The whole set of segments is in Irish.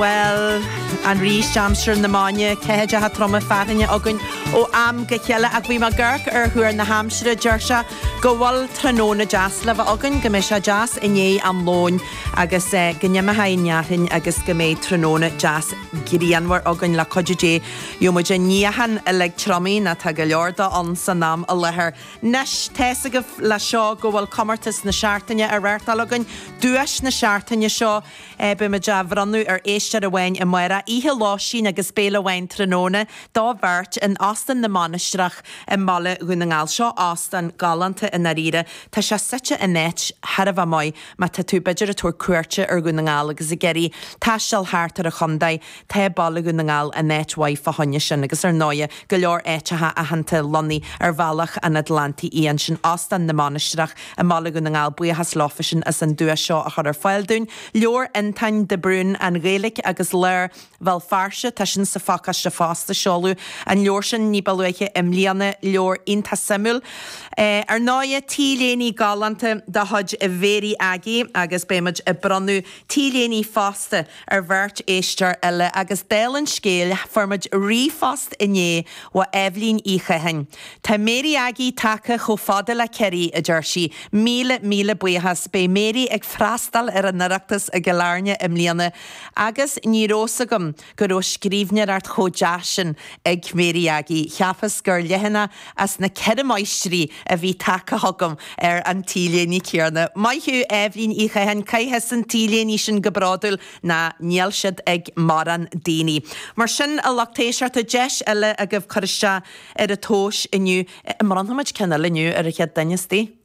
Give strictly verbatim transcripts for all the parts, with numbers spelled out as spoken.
Bhuel, arís aimsir na maidne, ceathaideacha troma fearthainne againn ó am go chéile ach bhí mé ag amharc ar thuar na haimsire deir sé go bhfuil tráthnóna deas le bheith againn, go mbeidh sé deas i ndiaidh am lóin agus go n-imeoidh an fhearthainn agus go mbeidh tráthnóna deas grianmhar againn le cuidiú Dé. Gheobhaidh muid an níochán uilig triomaithe nó tá go leor de ann san am i láthair. Anois, tá's agaibh le seo go bhfuil comórtas na seachtaine á reáchtáil againn, duais na seachtaine seo, Beidh muid á bhronnadh ar éisteoir amháin amárach, oíche lóistín agus béile amháin tráthnóna do bheirt in Óstán na Mainistreach i mBaile Dhún na nGall. Seo óstán galánta i ndáiríre. Tá sé suite in áit thar a bheith maith má tá tú b'fhéidir ag tabhairt cuairte ar Dhún na nGall agus ag iarraidh taisteal thart ar an chontae. Tá Baile Dhún na nGall in áit mhaith fá choinne sin agus ar ndóighe go leor áiteacha aitheanta lonnaithe ar bhealach an Atlantaigh Fhiáin. Sin Óstán na Mainistreach i mBaile Dhún na nGall. Buíochas leofa sin as an duais seo a chur ar fáil dúinn. Leabhar Fhionntáin de Brún, An Ghaeilge agus Lár Bhéal Feirste, tá sin sa phacáiste fosta. Seoladh an leabhar sin ní ba luaithe i mbliana, leabhar iontach suimiúil. Ar ndóighe, T-léiní galánta de chuid Mhéirí Aggie agus beidh muid ag bronnadh T-léiní fosta ar bheirt éisteoir eile agus dála an scéil, fuair muid ríomhphost inné ó Eibhlín Uí Chatháin. Tá Mary Aggie tagtha chomh fada le Ciarraí, a deir sí. Míle, míle buíochas. Beidh Mary ag freastal ar an Oireachtas i gCill Airne i mbliana agus ní raibh 's agam go raibh scríbhneoireacht chomh deas sin ag Mary Aggie. Cheapas gur leathanach as na Ceithre Máistrí a bhí tagtha chugam ar an T-léine céanna. Maith thú, Eibhlín Uí Chatháin, caith thusa an T-léine sin go bródúil ná níl siad ag mórán daoine. Mar sin, a lucht éisteachta, deis eile agaibh cur isteach ar an tomhas inniu. An mbronnfaimid ceann eile inniu ar an chéad duine istigh?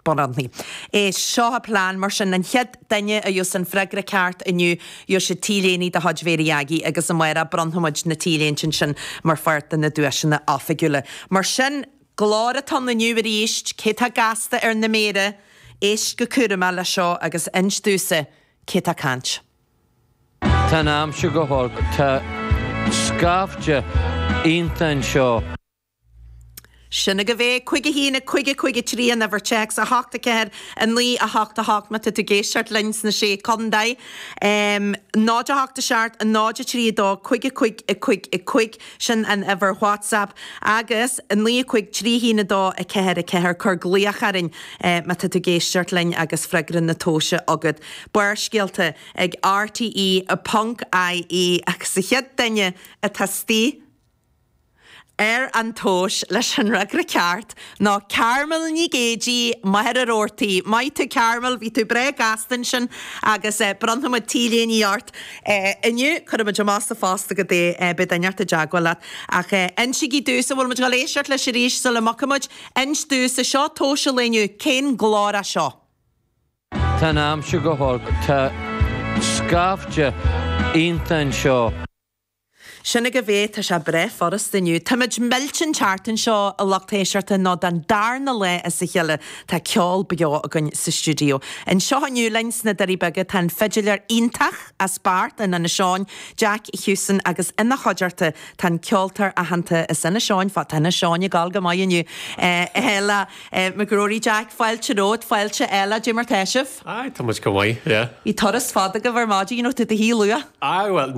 Bronnfaidh. Éist, seo an plean, mar sin, an chéad duine a gheobhas an freagra ceart inniu, gheobhaidh siad T-léine de chuid Mhéirí Aggie agus amárach bronnfaimid na T-léinte sin mar pháirt de na duaiseanna oifigiúla. Mar sin, glór atá ann inniu arís, cé tá gasta ar na méara, éist go cúramach leis seo agus inis domhsa cé tá ag caint. Tá an aimsir go holc. Tá scaifte iontach anseo. Sin agaibh é, cúig a haon, a cúig a cúig a trí an uimhir téacs, a hocht a ceathair, a naoi a hocht a hocht má tá tú ag éisteacht linn sna Sé Contae, náid a hocht a seacht, náid a trí a dó, cúig a cúig a cúig a cúig, sin an uimhir WhatsApp, agus a naoi a cúig trí haon a dó a ceathair a ceathair, cuir glaoch orainn má tá tú ag éisteacht linn agus freagra na tomhaise agat. Barrscéalta ag RTE ponc IE agus an chéad duine atá istigh ar an tomhas leis an fhreagra ceart ná Carmel Ní Géidigh, Machaire Rabhartaigh. Maith tú Carmel, bhí tú breá gasta ansin agus bronnfaidh muid T-léine ort inniu. Cuirfidh muid amach sa phost agat é, beidh duine inteacht i dteagmháil leat. Ach insígí domhsa, bhfuil muid ag dul éisteacht leis arís sula mbogfaidh muid? Inis domhsa, seo tomhas an lae inniu, cén glór é seo? Tá an aimsir go holc. Tá scaifte iontach anseo. Sin agaibh é, tá sé breá furasta inniu. Táimid millte an tseachtain seo, a lucht éisteachta, nó don darna lá as a chéile tá ceol beo againn sa stiúideo. Anseo inniu linn sna Doirí Beaga tá an fidiléir iontach as Beart in Inis Eoghain, Jack Hewson, agus ina chuideachta tá an ceoltóir aitheanta as Inis Eoghain, tá Inis Eoghain ag gabháil go maith inniu, Aodh McGrory. Jack, fáilte romhat, fáilte Ella, cad é mar tá sibh? Aye, tá muid go maith, yeah. Bhí turas fada agaibh ar maidin, raibh tú i do shuí luath? Aye, bhuel,